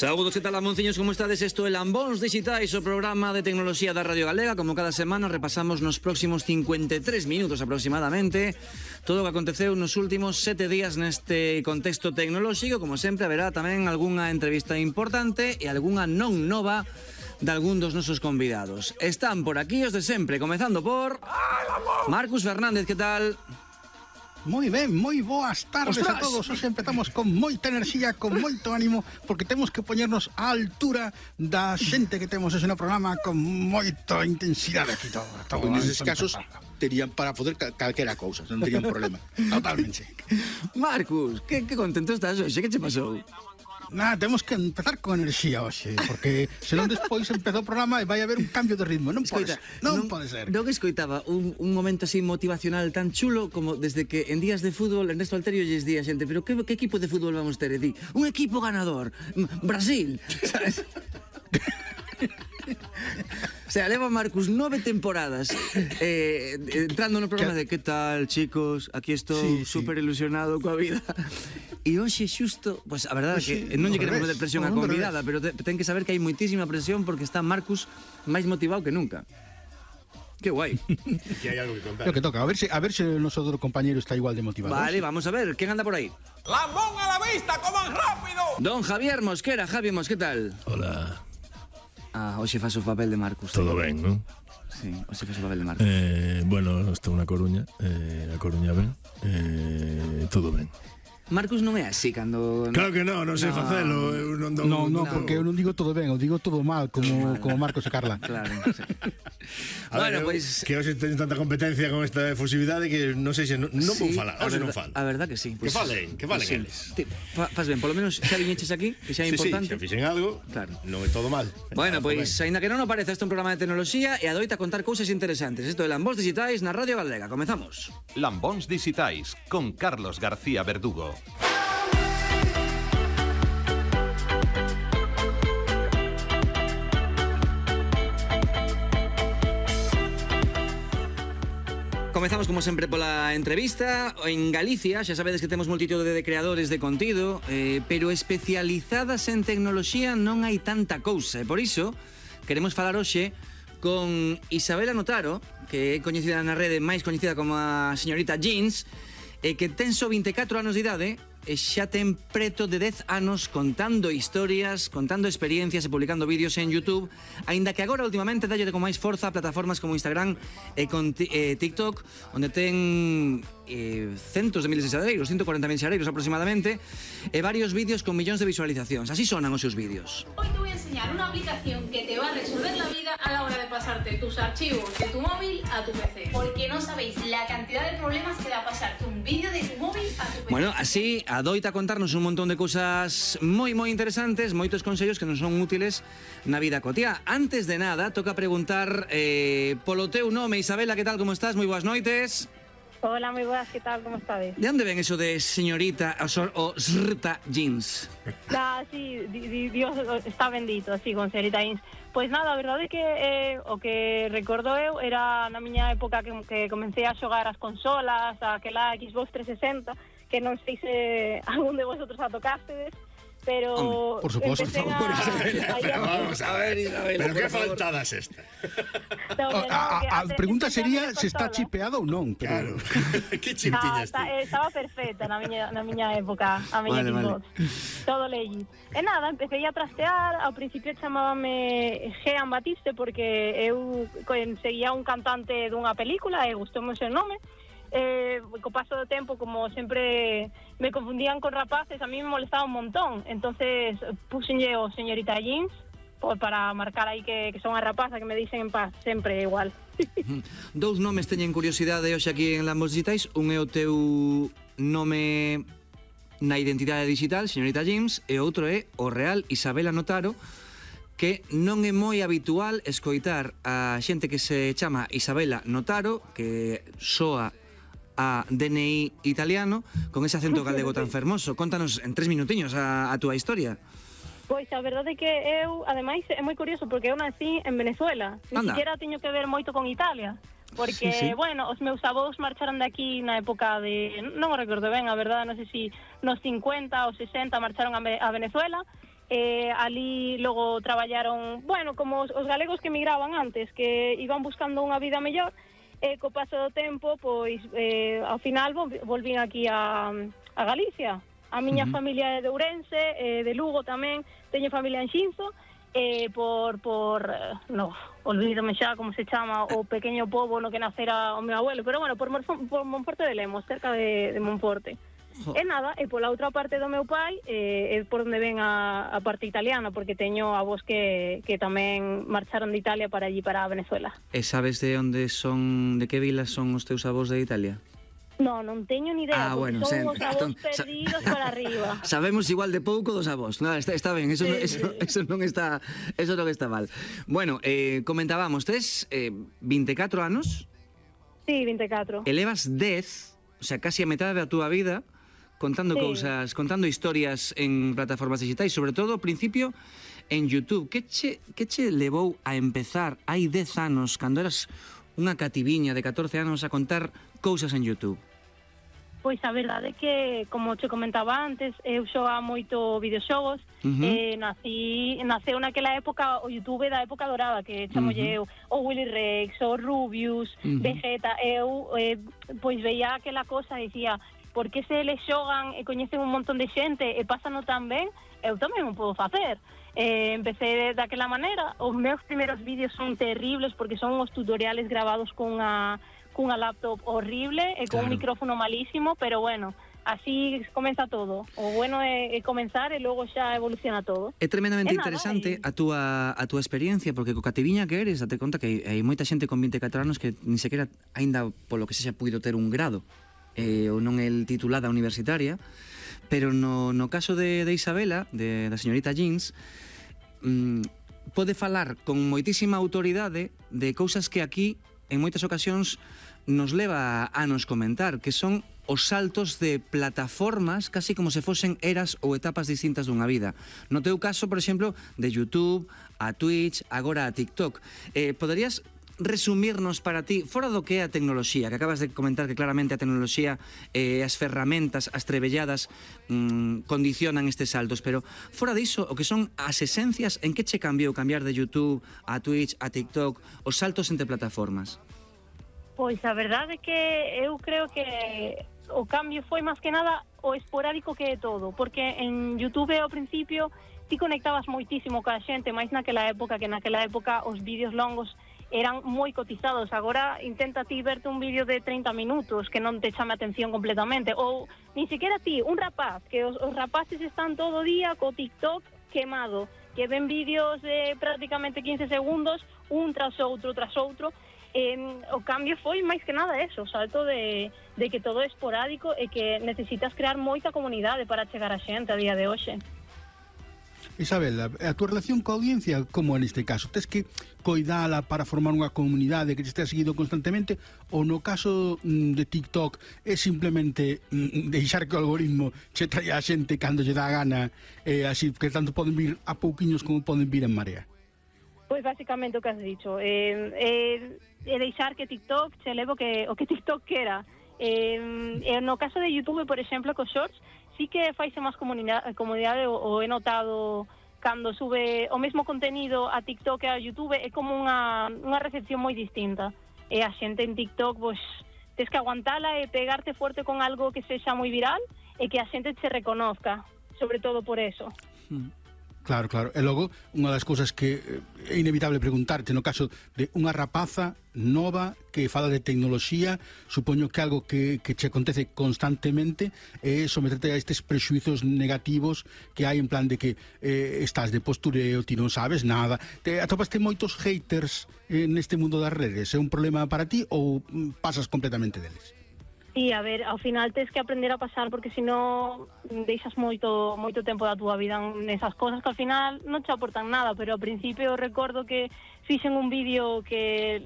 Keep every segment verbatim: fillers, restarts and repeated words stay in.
Saúdos, que tal, Lamonciños, como estades? Isto é Lambóns Digitais, o programa de tecnoloxía da Radio Galega. Como cada semana repasamos nos próximos cincuenta e tres minutos aproximadamente todo o que aconteceu nos últimos sete días neste contexto tecnolóxico. Como sempre, haberá tamén algunha entrevista importante e algunha non nova de algún dos nosos convidados. Están por aquí os de sempre, comezando por Marcus Fernández, que tal? Moi ben, moi boas tardes Ostras. a todos. Hoxe empezamos con moita enerxía, con moito ánimo, porque temos que poñernos á altura da xente que temos ese no programa, con moita intensidade aquí todo. todo en eses casos terían para poder cal calquera cousa, non terían problema. Totalmente. Marcus, que, que contento estás hoxe? Que che pasou? Nada, temos que empezar con enerxía hoxe, porque senón despois empezou o programa e vai haber un cambio de ritmo. Non pode ser, non, non pode ser. Non escoitaba un, un momento así motivacional tan chulo como desde que en días de fútbol Ernesto Alterio lles di a xente, pero que, que equipo de fútbol vamos ter? E di, un equipo ganador, Brasil, sabes? O sea, leva Marcus nove temporadas eh, entrando no programa de ¿qué tal, chicos? Aquí estou sí, super sí. ilusionado coa vida. E hoxe xusto, pues a verdade é que non lle queremos meter presión á convidada, pero te, ten que saber que hai moitísima presión porque está Marcus máis motivado que nunca. Qué guai. Que hai algo que contar. Lo que toca, a ver se a ver se o noso outro compañero está igual de motivado. Vale, vamos a ver, quen anda por aí? Lambón a la vista, coman rápido. Don Javier Mosquera, Javi Mos, que tal? Hola. Ah, hoxe faz o papel de Marcus. Todo ben, non? Sí, hoxe faz o papel de Marcus. Eh, bueno, estou na Coruña, eh, a Coruña ben, eh, todo ben. Marcus non é así cando... Claro que non, non sei no. facelo. Eu non, dou, no, no, no, porque eu non digo todo ben, eu digo todo mal, como, como Marcos e Carla. Claro, sí. Bueno, pois... Pues... Que hoxe teño tanta competencia con esta efusividade que non sei se non, non sí, vou falar, hoxe non falo. A verdad que sí. Pues, que falen, que valen sí. eles. Fa, faz ben, polo menos xa viñeches aquí, que xa é sí, importante. Sí, xa fixen algo, claro. Non é todo mal. Bueno, pois, pues, aínda que non o parece, este é un programa de tecnoloxía e adoita contar cousas interesantes. Isto é Lambóns Digitais na Radio Galega. Comezamos. Lambóns Digitais, con Carlos García Verdugo. Comezamos como sempre pola entrevista. En Galicia xa sabedes que temos multitude de creadores de contido, eh, pero especializadas en tecnoloxía non hai tanta cousa, e por iso queremos falar hoxe con Isabela Notaro, que é coñecida na rede, máis coñecida como a señorita Jeans, e que ten só vinte e catro anos de idade e xa ten preto de dez anos contando historias, contando experiencias e publicando vídeos en YouTube, aínda que agora últimamente dalle con máis forza a plataformas como Instagram e con eh, TikTok, onde ten eh, centos de miles de xadreiros, ciento cuarenta mil xadreiros aproximadamente, e varios vídeos con millóns de visualizacións. Así sonan os seus vídeos. Hoy te voy a enseñar una aplicación que te va a resolver la vida a la hora de pasarte tus archivos de tu móvil a tu P C. Porque no sabéis la cantidad de problemas que da pasarte un vídeo de tu móvil a tu P C. Bueno, así adoita contarnos un montón de cousas moi moi interesantes, moitos consellos que nos son útiles na vida cotiá. Antes de nada, toca preguntar eh, polo teu nome. Isabela, que tal, como estás? Moi boas noites. Hola, moi boas, que tal, como estades? De onde ven eso de señorita o, o srta Jeans? Ah, sí, di, di, Dios está bendito, así, con señorita Jeans. Pois nada, a verdade é que eh, o que recordo eu era na miña época que, que comecei a xogar as consolas, aquela Xbox trescientos sesenta, que non sei se algún de vosotros a tocastedes, pero hombre, por suposto, empecé por favor, a, a, a, vamos a ver, Isabel, pero que faltadas esta. No, no, a, a, a pregunta sería se está chipeado ou non, pero claro. Que chip tiñas ti? Estaba perfecta na miña na miña época, a miña vale, Xbox. Vale. Todo legit. E nada, empecé a trastear, ao principio chamábame Jean Batiste porque eu seguía un cantante dunha película e gustoume o seu nome. Eh, co paso do tempo, como sempre me confundían con rapaces, a mí me molestaba un montón, entonces puxenlle o señorita Jeans por, para marcar aí que, que son a rapaza, que me dicen en paz, sempre igual. Dous nomes teñen curiosidade hoxe aquí en Lambóns Digitais. Un é o teu nome na identidade digital, señorita Jeans, e outro é o real, Isabela Notaro, que non é moi habitual escoitar a xente que se chama Isabela Notaro, que soa a D N I italiano, con ese acento galego tan fermoso. Contanos en tres minutiños a, a túa historia. Pois a verdade é que eu, ademais, é moi curioso porque eu nací en Venezuela. Ni siquiera teño que ver moito con Italia. Porque, sí, sí. bueno, os meus avós marcharon de aquí na época de... Non o recordo ben, a verdade, non sei se nos cincuenta ou sesenta marcharon a, a Venezuela. eh, ali logo traballaron, bueno, como os, os galegos que emigraban antes, que iban buscando unha vida mellor, e co paso do tempo, pois, eh, ao final volvín aquí a, a Galicia. A miña uh-huh. familia é de Ourense, eh, de Lugo tamén, teño familia en Xinzo, eh, por, por, no, olvídome xa como se chama, o pequeño pobo no que nacera o meu abuelo, pero bueno, por, por Monforte de Lemos, cerca de, de Monforte. Oh. E nada, e pola outra parte do meu pai, eh, é por onde ven a, a parte italiana, porque teño avós que, que tamén marcharon de Italia para allí, para Venezuela. E sabes de onde son, de que vilas son os teus avós de Italia? No, non teño ni idea, ah, porque bueno, son sen, os avós perdidos para arriba. Sabemos igual de pouco dos avós. No, está, está ben, eso, sí, eso, sí. eso non está eso non está mal. Bueno, eh, comentábamos, tes eh, vinte e catro anos? Sí, vinte e catro. Elevas dez, o sea, casi a metade da túa vida contando sí. cousas, contando historias en plataformas digitais, sobre todo ao principio en YouTube. Que che, que che levou a empezar hai dez anos, cando eras unha cativiña de catorce anos, a contar cousas en YouTube? Pois a verdade é que, como che comentaba antes, eu xogaba moito videoxogos, uh-huh. eh, nací, naceu naquela época o YouTube da época dorada, que chamolle uh-huh. eu, o Willy Rex, o Rubius, uh-huh. Vegeta, eu eh, pois veía aquela cosa e dicía, por que se eles xogan e coñecen un montón de xente e pásano tan ben, eu tamén o podo facer. Eh, empecé daquela maneira, os meus primeiros vídeos son terribles porque son os tutoriales grabados cunha cunha laptop horrible e con claro. un micrófono malísimo, pero bueno, así comeza todo. O bueno é, é comenzar e logo xa evoluciona todo. É tremendamente é interesante nada, a túa a túa experiencia, porque co cativiña que eres, date conta que hai moita xente con vinte e catro anos que ni sequera aínda polo que sexa puido ter un grado, eh, ou non el titulada universitaria, pero no, no caso de, de Isabela, de, da señorita Jeans, mmm, pode falar con moitísima autoridade de cousas que aquí en moitas ocasións nos leva a nos comentar, que son os saltos de plataformas casi como se fosen eras ou etapas distintas dunha vida. No teu caso, por exemplo, de YouTube a Twitch, agora a TikTok. Eh, poderías resumirnos para ti, fora do que é a tecnoloxía, que acabas de comentar que claramente a tecnoloxía e eh, as ferramentas, as trebelladas mmm, condicionan estes saltos, pero fora diso, o que son as esencias, en que che cambiou cambiar de YouTube a Twitch, a TikTok, os saltos entre plataformas? Pois a verdade é que eu creo que o cambio foi máis que nada o esporádico que é todo, porque en YouTube ao principio ti conectabas moitísimo ca xente, máis naquela época, que naquela época os vídeos longos eran moi cotizados. Agora intenta ti verte un vídeo de treinta minutos que non te chame a atención completamente, ou ni siquiera ti, un rapaz, que os, os rapaces están todo o día co TikTok quemado, que ven vídeos de prácticamente quince segundos, un tras outro, tras outro. Eh, o cambio foi máis que nada eso, o salto de, de que todo é esporádico e que necesitas crear moita comunidade para chegar a xente a día de hoxe. Isabela, a túa relación coa audiencia, como neste caso? Tes que coidala para formar unha comunidade que te estea seguido constantemente, ou no caso de TikTok é simplemente mm, deixar que o algoritmo che traia a xente cando lle dá a gana, eh, así que tanto poden vir a pouquiños como poden vir en marea? Pois basicamente o que has dicho, eh, eh, é deixar que TikTok che levo que, o que TikTok quera. Eh, no caso de YouTube, por exemplo, cos shorts, sí que faise máis comunidade, comunidade o, o he notado cando sube o mesmo contenido a TikTok e a YouTube, é como unha, unha recepción moi distinta. E a xente en TikTok, pois, tes que aguantala e pegarte fuerte con algo que sexa moi viral e que a xente se reconozca, sobre todo por eso. Mm. Claro, claro. E logo, unha das cousas que é inevitable preguntarte no caso de unha rapaza nova que fala de tecnoloxía, supoño que algo que, que che acontece constantemente é someterte a estes prexuizos negativos que hai en plan de que eh, estás de postureo, ti non sabes nada. Te atopaste moitos haters eh, neste mundo das redes? É un problema para ti ou pasas completamente deles? Sí, a ver, ao final tens que aprender a pasar, porque senón deixas moito moito tempo da túa vida nesas cosas que ao final non te aportan nada, pero ao principio recordo que fixen un vídeo que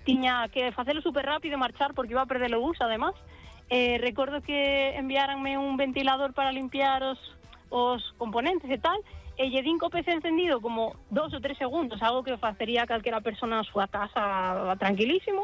tiña que facelo super rápido e marchar porque iba a perder o bus, además. Eh, recordo que enviáranme un ventilador para limpiar os, os componentes e tal, e lle din co P C encendido como dos ou tres segundos, algo que facería calquera persona na súa casa tranquilísimo.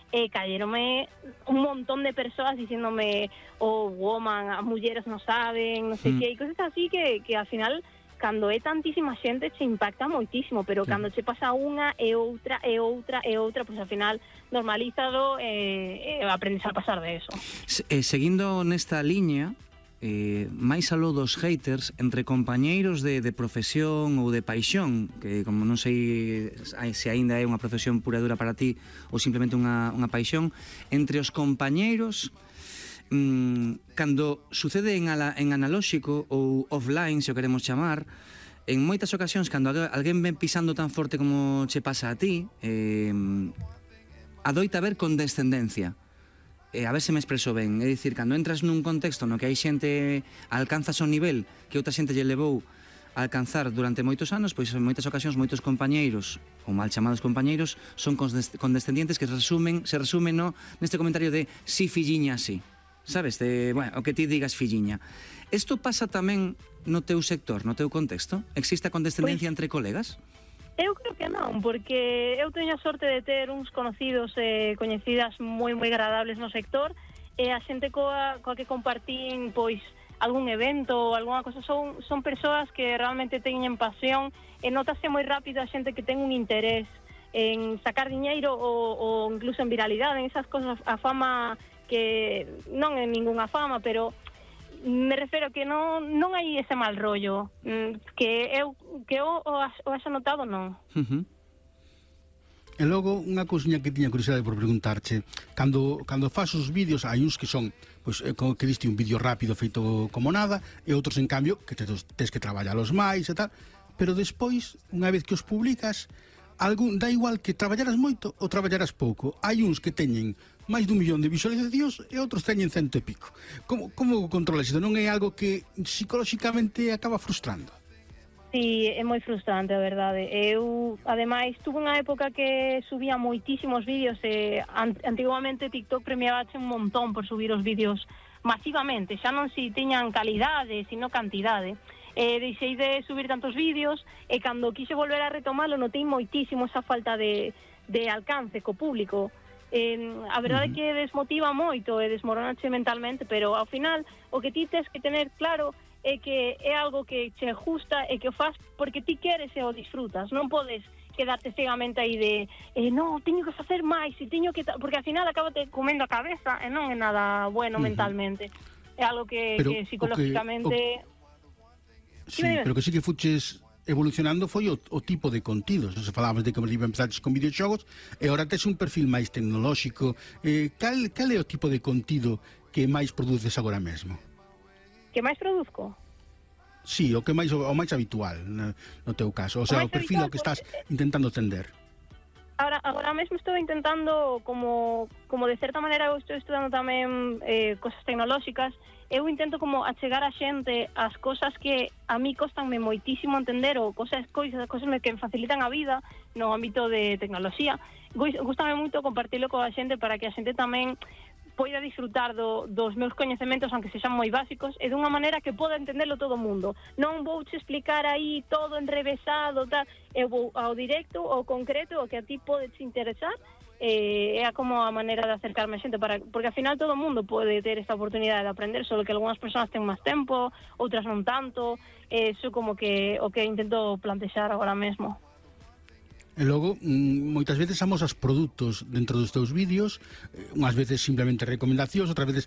E cayeronme un montón de persoas diciéndome, oh, woman, as mulleres non saben, non sei mm. que, e cosas así que, que al final cando é tantísima xente che impacta moitísimo, pero sí. Cando che pasa unha e outra e outra e outra, pois pues, ao final normalízalo e, e aprendes a pasar de eso. Se, eh, seguindo nesta liña, eh, máis aló dos haters entre compañeiros de, de profesión ou de paixón, que como non sei se aínda é unha profesión pura e dura para ti ou simplemente unha, unha paixón, entre os compañeiros, mmm, cando sucede en, ala, en analóxico ou offline, se o queremos chamar, en moitas ocasións, cando alguén ven pisando tan forte como che pasa a ti, eh, adoita ver condescendencia. Eh, a ver se me expreso ben, é dicir, cando entras nun contexto no que hai xente alcanzas un nivel que outra xente lle levou a alcanzar durante moitos anos, pois en moitas ocasións moitos compañeiros, ou mal chamados compañeiros, son condescendientes que resumen, se resumen no, neste comentario de si filliña así, sabes, de, bueno, o que ti digas filliña. Isto pasa tamén no teu sector, no teu contexto? Existe a condescendencia pues... entre colegas? Eu creo que non, porque eu teño a sorte de ter uns conocidos e eh, coñecidas moi moi agradables no sector, e a xente coa, coa que compartín pois algún evento ou algunha cosa son, son persoas que realmente teñen pasión e notase moi rápido a xente que ten un interés en sacar diñeiro ou, ou incluso en viralidade, en esas cosas, a fama que non é ningunha fama, pero me refiro que non non hai ese mal rollo, que eu que eu o, o haxa notado non. Uh -huh. E logo unha cousiña que tiña curiosidade por preguntarche, cando cando fas os vídeos hai uns que son, pois como que diste un vídeo rápido feito como nada, e outros en cambio que tes, tes que traballalos máis e tal, pero despois, unha vez que os publicas, algún dá igual que traballaras moito ou traballaras pouco. Hai uns que teñen máis dun millón de visualizacións e outros teñen cento e pico. Como, como controlas isto? Non é algo que psicolóxicamente acaba frustrando? Sí, é moi frustrante, a verdade. Eu, ademais, tuve unha época que subía moitísimos vídeos e antigamente TikTok premiabache un montón por subir os vídeos masivamente, xa non si tiñan calidade, sino cantidade. E deixei de subir tantos vídeos e cando quise volver a retomalo notei moitísimo esa falta de, de alcance co público. Eh, a verdade é que desmotiva moito e desmoronache mentalmente, pero ao final o que ti tes que tener claro é que é algo que che gusta e que o faz porque ti queres e o disfrutas. Non podes quedarte cegamente aí de eh, non, teño que facer máis e teño que... porque ao final acabate comendo a cabeza e non é nada bueno uh -huh. mentalmente. É algo que, que psicológicamente... Sí, pero que sí que fuches evolucionando foi o, o tipo de contidos. Se falabas de que empezaste con videoxogos e agora tes un perfil máis tecnolóxico. Eh, cal, cal é o tipo de contido que máis produces agora mesmo? Que máis produzco? Sí, o que máis o máis habitual no, no teu caso. O sea, o, o perfil o que estás intentando tender. Ahora, agora mesmo estou intentando, como, como de certa maneira eu estou estudando tamén eh, cosas tecnolóxicas, eu intento como achegar a xente as cosas que a mí costanme moitísimo entender ou cosas, coisas, cosas que me facilitan a vida no ámbito de tecnoloxía. Gústame moito compartilo coa xente para que a xente tamén poida disfrutar do, dos meus coñecementos, aunque sexan moi básicos, e dunha maneira que poda entenderlo todo o mundo. Non vou che explicar aí todo enrevesado, tal, eu vou ao directo, ao concreto, o que a ti pode te interesar, eh, é como a maneira de acercarme a xente, para, porque ao final todo o mundo pode ter esta oportunidade de aprender, só que algunhas persoas ten máis tempo, outras non tanto, eh, iso como que o que intento plantexar agora mesmo. E logo, moitas veces amosas produtos dentro dos teus vídeos, unhas veces simplemente recomendacións, outras veces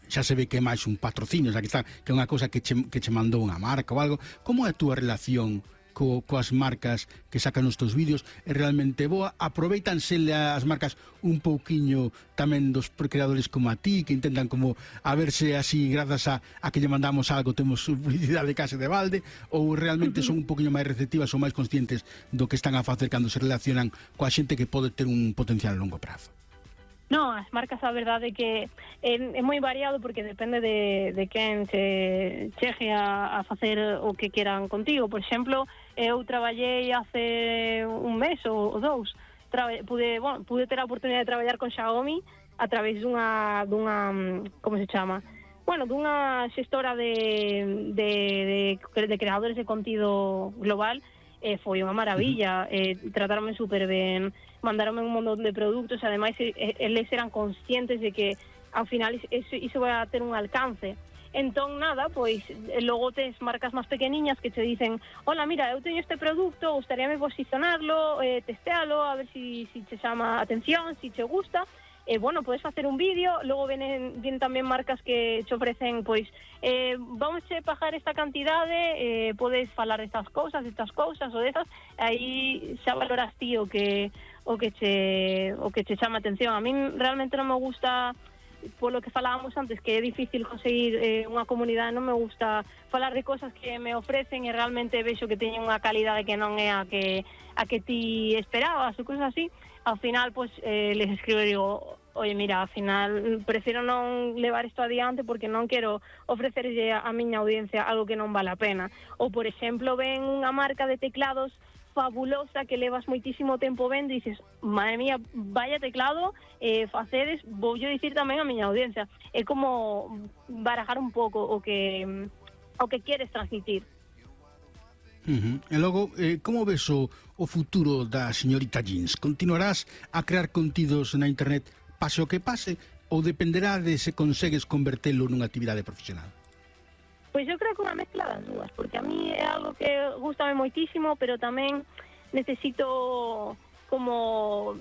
xa se ve que é máis un patrocinio, o sea, que, está, que é unha cousa que che, que che mandou unha marca ou algo. Como é a túa relación co, coas marcas que sacan os teus vídeos? É realmente boa? Aproveitanse as marcas un pouquiño tamén dos creadores como a ti, que intentan como a verse así, grazas a, a que lle mandamos algo, temos publicidade case de balde, ou realmente son un pouquiño máis receptivas ou máis conscientes do que están a facer cando se relacionan coa xente que pode ter un potencial a longo prazo? No, as marcas, a verdade é que é, é moi variado porque depende de, de quen se chegue a, a facer o que queran contigo. Por exemplo, eu traballei hace un mes ou, ou dous, Traba, pude, bueno, pude ter a oportunidade de traballar con Xiaomi a través dunha, dunha como se chama? Bueno, dunha xestora de, de, de, de creadores de contido global. E foi unha maravilla, eh, tratáronme super ben, mandaronme un montón de produtos, ademais eles eran conscientes de que ao final iso, iso vai a ter un alcance, Entón, nada, pois logo tes marcas máis pequeniñas que te dicen: hola, mira, eu teño este produto, gustaríame posicionarlo, eh, testealo, a ver si, si te chama a atención, si te gusta. E, eh, bueno, podes facer un vídeo, logo vienen, vienen tamén marcas que te ofrecen, pois, eh, vamos a pagar esta cantidade, eh, podes falar destas cousas, destas cousas ou destas, aí xa valoras ti o que, o que che, o que che chama atención. A min realmente non me gusta, polo que falábamos antes, que é difícil conseguir eh, unha comunidade, non me gusta falar de cosas que me ofrecen e realmente vexo que teñen unha calidade que non é a que a que ti esperabas ou cosas así. Ao final, pois, eh, les escribo e digo: oye, mira, ao final prefiro non levar isto adiante porque non quero ofrecerlle a miña audiencia algo que non vale a pena. Ou, por exemplo, ven unha marca de teclados fabulosa que levas moitísimo tempo vendo e dices: madre mía, vaya teclado, eh, facedes, vou yo dicir tamén a miña audiencia. É como barajar un pouco o que o que queres transmitir. Uh-huh. E logo, eh, como ves o, o futuro da señorita Jeans? Continuarás a crear contidos na internet pase o que pase ou dependerá de se consegues convertelo nunha actividade profesional? Pois eu creo que unha mezcla das dúas, porque a mí é algo que gustame moitísimo, pero tamén necesito como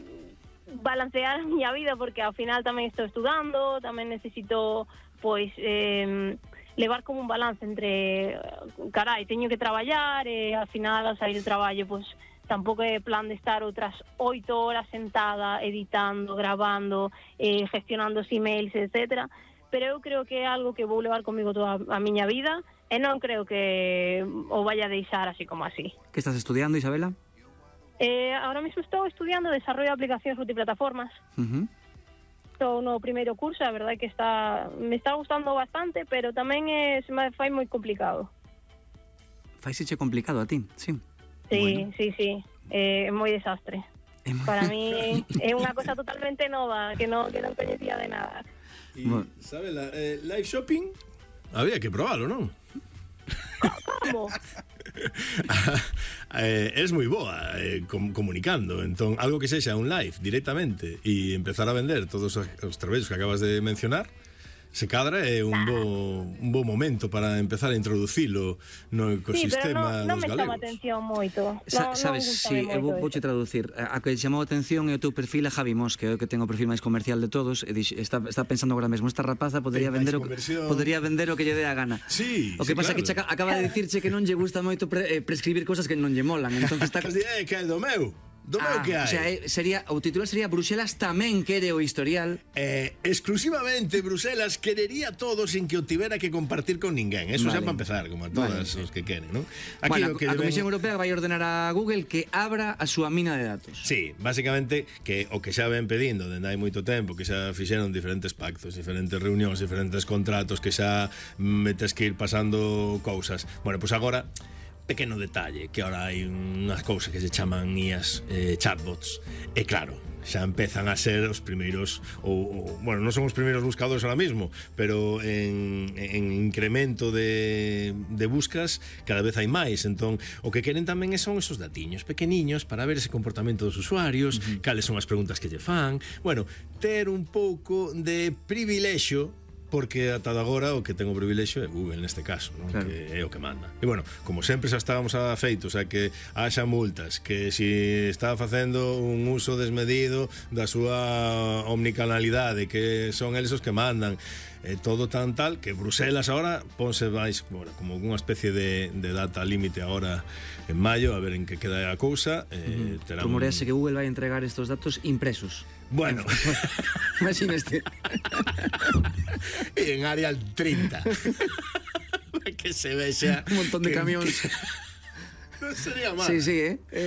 balancear a miña vida, porque ao final tamén estou estudando, tamén necesito, pois, eh, levar como un balance entre, carai, teño que traballar, e ao final, ao sair do traballo, pois, tampouco é plan de estar outras oito horas sentada, editando, grabando, eh, gestionando os emails, etcétera. Pero eu creo que é algo que vou levar comigo toda a miña vida e non creo que o vaya a deixar así como así. Que estás estudiando, Isabela? Eh, ahora mesmo estou estudiando desarrollo de aplicacións multiplataformas. Uh-huh. Estou no primeiro curso, a verdade é que está me está gustando bastante, pero tamén é, se me fai moi complicado. Faiseche complicado a ti, sí. Sí, bueno. sí, sí, é eh, moi desastre. Para mí é unha cosa totalmente nova, que non, que non coñecía de nada. Y, bueno. ¿Sabes? La, eh, live shopping había que probarlo, ¿no? ¿Cómo? eh, es moi boa eh, com, comunicando. Entón, algo que sexa un live directamente e empezar a vender todos os traballos que acabas de mencionar, se cadra é un bo, un bo momento para empezar a introducilo no ecosistema sí, pero non, non dos galegos. Non me chama atención moito. Sa, no, sabes, si, sí, eu vou che traducir. A que chamou a atención é o teu perfil a Javi Mos, que é o que ten o perfil máis comercial de todos, e dix, está, está pensando agora mesmo, esta rapaza podería vender o, podería vender o que lle dé a gana. Sí, o que sí, pasa claro. Que acaba de dicirche que non lle gusta moito pre, eh, prescribir cosas que non lle molan. Entonces está... É que é do meu. Do ah, meu que hai. O sea, sería, o titular sería Bruxelas tamén quere o historial. Eh, exclusivamente Bruxelas querería todo sin que o tivera que compartir con ninguén. Eso vale. Xa para empezar, como a todas vale. Os que queren, ¿no? Aquí bueno, que a deben... Comisión Europea vai ordenar a Google que abra a súa mina de datos. Sí, básicamente que o que xa ven pedindo dende hai moito tempo, que xa fixeron diferentes pactos, diferentes reunións, diferentes contratos, que xa metes que ir pasando cousas. Bueno, pois pues agora pequeno detalle, que ahora hai unhas cousas que se chaman I As, eh, chatbots, e claro, xa empezan a ser os primeiros ou, ou bueno, non son os primeiros buscadores ahora mismo, pero en, en incremento de, de buscas cada vez hai máis. Entón, o que queren tamén son esos datiños pequeniños para ver ese comportamento dos usuarios, uh-huh. cales son as preguntas que lle fan, bueno, ter un pouco de privilexio, porque ata agora o que ten o privilexio é Google neste caso, non? Claro. Que é o que manda. E bueno, como sempre xa estábamos afeitos a que haxa multas, que si está facendo un uso desmedido da súa omnicanalidade, que son eles os que mandan, e todo tan tal que Bruselas ahora ponse máis, bueno, como unha especie de, de data límite agora en maio, a ver en que queda a cousa. eh, uh-huh. Rumorease un... que Google vai entregar estos datos impresos. Bueno, imagínate. E en Arial treinta que se vexa un montón de que, camións. Que... non sería mal. Sí, sí, eh